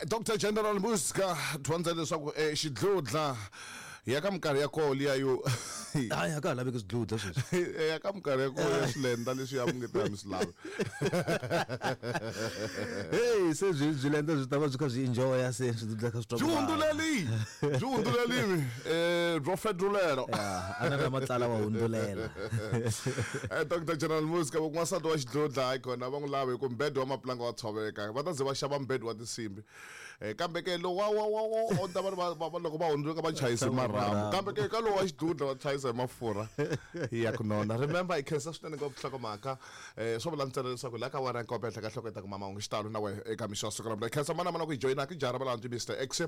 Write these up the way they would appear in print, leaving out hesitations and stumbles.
Dr General Muska dyondza leswaku xidlodla ya ka minkarhi ya koho liya yo Hayi, a ka ha laveki swidlodla sweswi. Ya ka minkarhi ya koho ya swilenda leswi ya munge ta mi swi lavi. Hey, se byi byi lenda byi ta va byi kha byi enjoya se swidlodla kha swi twa Byi ku vava. hundzuleli, byi hundzulelimi byo fedrulela. Ya, a na na matlala wa hundzulela. Dr General Muska va ku n'wansati wa xidlodla hayi kona va n'wi lavi hi ku mbhedo wa mapulanga wa tshoveka va ta ze va xava mbhedo wa tinsimbi. Kambe ke lowu wa wa wa wa ta va ri va va loko va hundzuka va chayisa marhambu kambe ke ka lowu wa xidlodla va chayisa hi mafurha ya ku nona. Remember hi khensa swinene ngopfu nhlokomhaka swo vula ntsena leswaku la ka wena nkope henhla ka nhloko yi ta kuma mahungu xitalo na wena eka mixo wa siku ra khensa mana mana ku yi joyina ki jara valandzi Mr X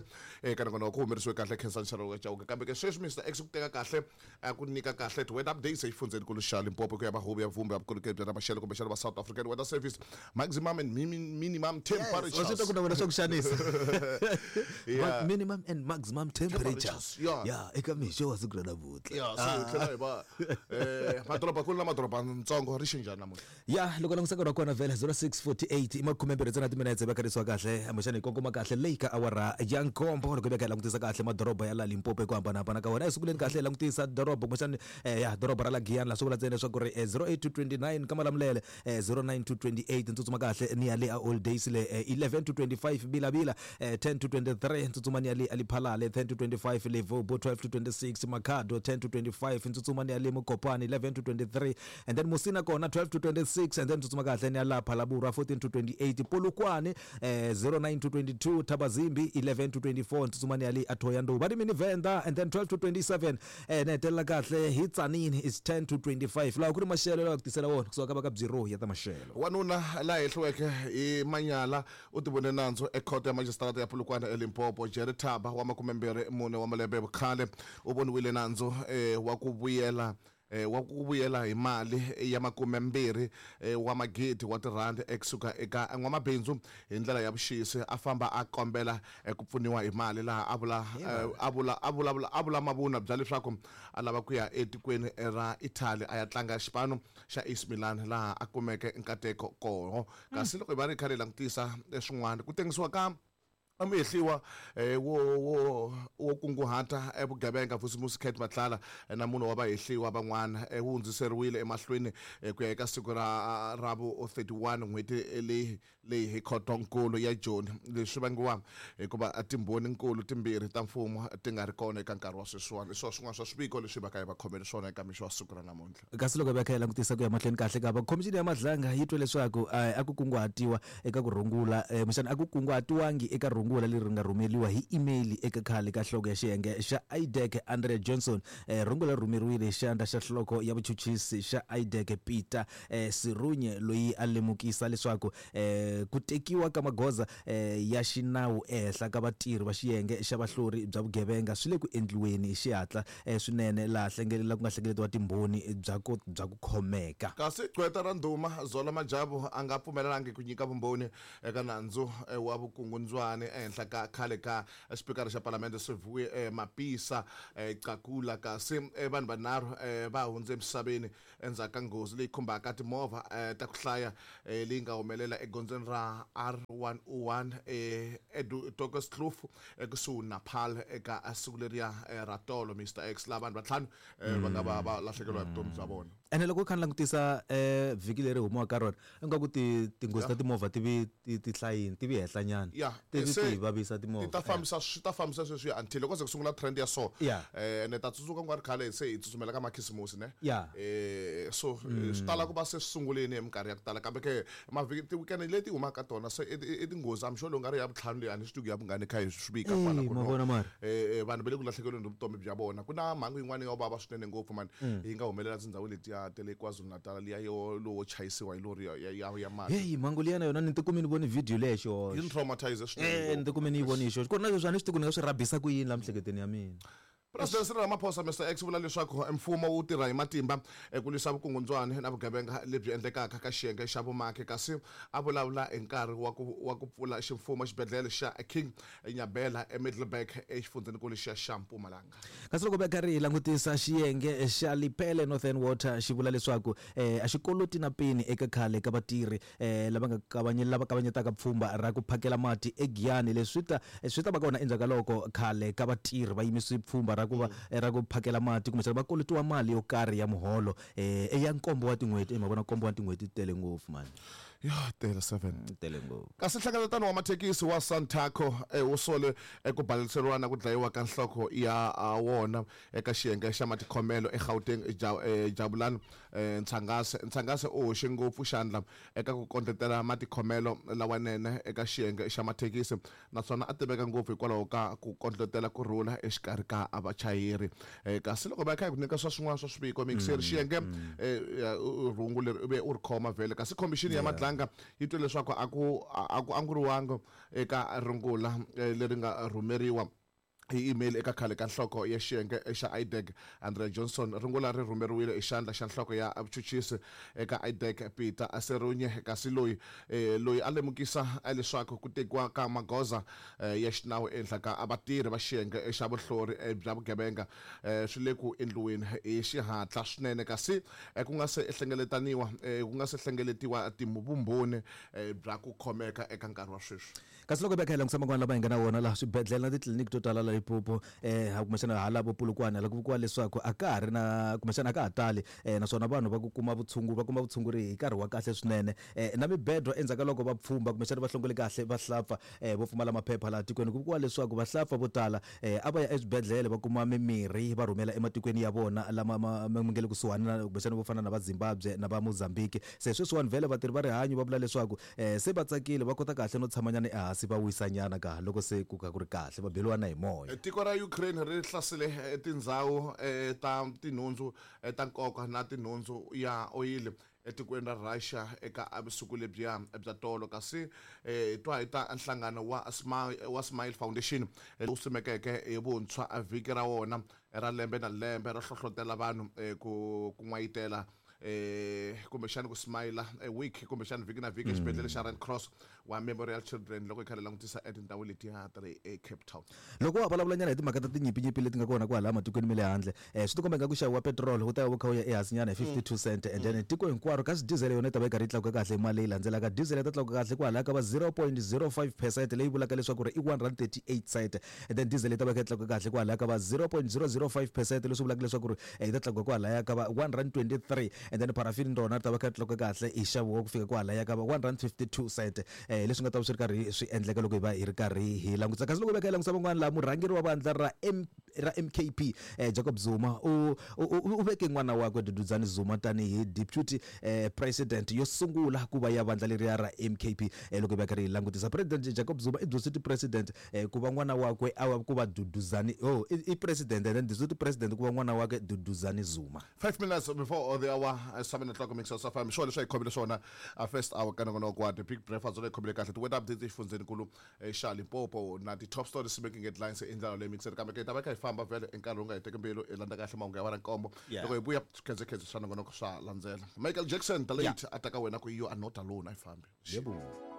eka nongonoko ku humerisiwe kahle khensa nxalo wa Chauke kambe ke sweswi Mr X ku teka kahle a ku nyika kahle ti weather updates exifundzheni nkulu xa Limpopo ku ya mahuvo ya vumbi ya vukorhokeri bya ta maxelo kumbexana va South African Weather Service maximum and minimum temperatures. Wa swi twa ku na wena swa ku xanisa. Yeah. Minimum and maximum temperatures. Temperatures, yeah. Yeah, eka mixo wa siku ra namuntlha. Ya, se hi tlhela hi va madorobankulu na madorobantsongo ri xe njhani namuntlha? Ya, loko langutisa nkarhi wa kona vhele 06:48 i makhumembirhi ntsena timinetse va kharisiwa kahle kumbexana hi kongoma kahle leyi ka awara ya nkombo loko hi veka hi langutisa kahle madoroba ya la Limpopo hi ku hambanahambana ka wona. Eku sunguleni kahle hi langutisa doroba kumbexana ya doroba ra la Giyani laha swi vula ntsena leswaku ri 08 to 29 ka Malamulele 09 to 28 ntsutsuma kahle ni ya le a Old Days le 11 to 25 Bilavila 10 to 23 ntsutsuma ni ya le a Lephalale 10 to 25 Levobo 12 to 26 Makhado 10 to 25 ntsutsuma ni ya le Mokopane 11 to 23 and then Musina kona 12 to 26 and then tsutsuma kahle ni ya la Phalaborwa 14 to 28 Polokwane 09 to 22 Thabazimbi 11 to 24 tsutsuma ni ya le Athoyandou va ri mini Venda and then 12 to 27 ni hetelela kahle hi Tzaneen is 10 to 25 laha ku ri maxelo lawa ku tisela wona kusuka ka va ka Bureau ya ta maxelo. Wanuna la hehliweke hi manyala u tivone nandzu ekhoto ya majisitarata ya Polokwane eLimpopo. Jerry Thaba wa 24 wa malembe ya vukhale u voniwile nandzu wa ku vuyela wa ku vuyela hi mali ya 20 wa magidi wa tirhandi ekusuka eka n'wamabindzu hi ndlela ya vuxisi a famba a kombela ku pfuniwa hi mali laha a vula a vula a vulavula a vula mavunwa bya leswaku a lava ku ya etikweni ra Italy a ya tlanga xipano xa AC Milan laha a kumeke nkateko koho. Kasi loko hi va ri kha hi langutisa swin'wana ku tengisiwa ka muhehliwa wo wo wo kunguhata vugevenga Vusimusi Cat Matlala na munhu wa vahehliwa van'wana wu hundziseriwile emahlweni ku ya eka siku ra ra vu 31 n'hweti leyi leyi hi khotonkulu ya Joni. Leswi swi vangiwa hikuva timbhoni-nkulu timbirhi ta mfumo ti nga ri kona eka nkarhi wa sweswiwani. Hi swona swin'wana swa swiviko leswi hi va ka hi va khomele swona eka mixo wa siku ra namuntlha. Kasi loko hi va kha hi langutisa ku ya mahlweni kahle ka va khomixini ya Madlanga yi twe leswaku a ku kunguhatiwa eka ku rungula kumbexana a ku kunguhatiwangi eka rungula leri nga rhumeriwa hi email eka khale ka nhloko ya xiyenge xa IDAC Andrea Johnson. Rungula ri rhumeriwile hi xandla xa nhloko ya vuchuchisi xa IDAC Peter Serunye loyi a lemukisa leswaku ku tekiwa ka magoza ya xinawu ehenhla ka vatirhi va xiyenge xa vahlori bya vugevenga swi le ku endliweni hi xihatla swinene laha ku nga hlengeletiwa timbhoni bya ku bya ku khomeka. Kasi gqweta ra ndhuma Zola Majavu a nga pfumelelangi ku nyika vumbhoni eka nandzu wa vukungundzwani ehenhla ka khale ka xipikara xa palamende Siviwe Mapisa Qakula. Kasi vanhu vanharhu va hundze emisaveni endzhaku ka nghozi leyi khumbaka timovha ta ku hlaya leyi nga humelela egondzweni ra R101 eDokerskloof ekusuhi na Paarl eka siku leriya ra tolo. Mister X, laha vanhu vatlhanu va nga va va lahlekeriwa hi vutomi bya vona. Ene loko u kha ni langutisa vhiki leri humiwaka ka rona ingaku ti tinghozi ta timovha ti vi ti ti hlayini ti vi henhla nyana Ya, ti vi se ti hi vavisa timovha ti ta fambisa swi ta fambisa sweswiya until loko se ku sungula trend ya so Ya. Ene ta tsundzuka ku nga ri khale se hi tsutsumela ka makhisimusi ne Ya. So swi tala ku va se swi sungulini hi minkarhi ya ku tala kambe ke mavhiki ti-weekend leti humaka ka tona se i tinghozi I'm sure lowu nga ri ya vutlhanu leyi a ni swi tivi ku ya vungani kha hi swi vika kwala Ey, ku no ma vona mara. Vanhu va le ku lahlekeriweni hi vutomi bya vona. Ku na mhangu yin'wana yo vava swinene ngopfu mani yi nga humelela tindhawini letiya ta le KwaZulu-Natal liya yo lowo chayisiwa hi lori ya ya ya mati. Heyi mhangu liya na yona ni tikume ni vone video leya hi xihoxo. Yi ni traumatize swinene Ni tikume ni yi vone hi xihoxo. Ku ri na leswi a ni swi tivi ku ni nga swi rhabisa ku yini la miehleketweni ya mina. President Cyril Ramaphosa Mr X vula leswaku mfumo wu tirha hi matimba ku lwisa vukungundzwani na vugevenga lebyi endlekaka ka xiyenge xa vumaki, kasi a vulavula hi nkarhi wa ku pfula ximfumo xibedhlele xa King Nyabela eMiddelburg exifundzhenikulu xa xa Mpumalanga. Kasi loko va karhi hi langutisa xiyenge xa Lepelle Northern Water xi vula leswaku a xi koloti na peni eka khale ka vatirhi lava nga lava kavanyetaka pfhumba ra ku phakela mati eGiyani. Leswi swi ta va kona endzhaku ka loko khale ka vatirhi va yimise pfhumba ra ku va ra ku phakela mati kumbexana va kolotiwa mali yo karhi ya muholo ya nkombo wa tin'hweti. Ma vona nkombo wa tin'hweti tele ngopfu mani. Ya tele 7. Tele ngopfu. Kasi nhlengeletano wa mathekisi wa Santaco wu sole ku baleseriwa na ku dlayiwa ka nhloko ya wona eka xiyenge xa matikhomelo eGauteng, Jabulani Ntshangase. Ntshangase u hoxe ngopfu xandla eka ku kondletela matikhomelo lawanene eka xiyenge xa mathekisi, naswona a tiveka ngopfu hikwalaho ka ku kondletela ku rhula exikarhi ka vachayeri. Kasi loko va kha hi ku nyika swa swin'wana swa swiviko mixeri xiyenge rhungu leri u ve u ri khoma vhele, kasi khomixini ya Madlanga yi twe leswaku a ku anguriwanga eka rungula leri nga rhumeriwa hi email eka khale ka nhloko ya xiyenge xa IDAC Andrea Johnson. Rungula ri rhumeriwile hi xandla xa nhloko ya vuchuchisi eka IDAC Peter Serunye, kasi loyi a lemukisa leswaku ku tekiwa ka magoza ya xinawu ehenhla ka vatirhi va xiyenge xa vuhlori bya vugevenga swi le ku endliweni hi xihatla swinene, kasi ku nga se hlengeletaniwa ku nga se hlengeletiwa vumbhoni bya ku khomeka eka nkarhi wa sweswi. Kasi loko hi langutisa man'wana lama hi nga na wona laha swibedhlele na titliliniki to tala la Limpopo kumbexana hala vo Polokwane la ku vikiwa leswaku a ka ha ri na kumbexana a ka ha tali naswona vanhu va ku kuma vutshunguri va kuma vutshunguri hi nkarhi wa kahle swinene na mibedwa endzhaku ka loko va pfhumba kumbexana va hlongole kahle vahlapfa vo pfumala maphepha laha tikweni. Ku vikiwa leswaku vahlapfa vo tala a va ya eswibedhlele va kuma mimirhi va rhumela ematikweni ya vona lama ma nga le kusuhani na kumbexana vo fana na va Zimbabwe na va Mozambique. Se sweswiwani vhele vatirhi va rihanyo va vula leswaku se va tsakile va kota kahle no tshamanyana ehansi va wisanyana ka loko se ku ka ku ri kahle va beliwa na hi moya. Tiko ra Ukraine ri hlasele tindhawu ta tinhundzu ta nkoka na tinhundzu ya oyili etikweni ra Russia eka vusiku lebyiya bya tolo, kasi hi twa hi ta nhlangano wa Smile Foundation lowu simekeke hi vuntshwa vhiki ra wona ra lembe na lembe ro hlohlotela vanhu ku n'wayitela kumbexana ku smile week kumbexana vhiki na vhiki exibedhlele xa Red Cross wa Memorial Children loko hi kha hi langutisa etindhawu letiya ta le eCape Town. Loko wa vulavulanyana hi timhaka ta tinyimpinyimpi leti nga kona kwalaha matikweni ma le handle, swi tikomba ingaku nxavo wa petiroli wu ta va wu kha wu ya ehansinyana hi 52 cent, and then tiko hinkwaro, kasi diesel yona yi ta va yi karhi yi tlakuka kahle hi mali leyi landzelaka. Diesel yi ta tlakuka kahle kwalaya ka va 0.05% leyi vulaka leswaku ri i 1 rand 38 cent, and then diesel yi ta va yi kha yi tlakuka kahle kwalaya ka va 0.005% leswi vulaka leswaku ri yi ta tlakuka kwalaya ka va 1 rand 23, and then parafini rona ri ta va kha ri tlakuka kahle hi nxavo wa ku fika kwalaya ka va 1 rand 52 cent. Leswi nga ta va swi ri karhi swi endleka loko hi va hi ri karhi hi langutisa. Kasi loko hi va kha hi langutisa van'wana laha, murhangeri wa vandla ra MKP Jacob Zuma u veke n'wana wakwe Duduzane Zuma tanihi deputy president yo sungula ku va ya vandla leriya ra MKP. Loko hi va karhi hi langutisa President Jacob Zuma i deputy president ku va n'wana wakwe a va ku va Duduzane, i president and then deputy president ku va n'wana wakwe Duduzane Zuma. 5 minutes before the hour 7 o'clock mix of FM. Swona leswi hi khomile swona first hour ka nongonoko wa The Big Breakfast leyi khomile kahle ti-weather updates exifundzhenikulu xa Limpopo na ti-top stories making headlines i ndlela leyi mixer, kambe ke hi ta va kha hi famba vhele i nkarhi wu nga hi teki mbilu hi landza kahle mahungu ya va nkombo. Loko hi vuya swikhedzekhedze swa nongonoko swa landzela. Michael Jackson the late a ta ka wena ku you are not alone, a yi fambi. Yebo.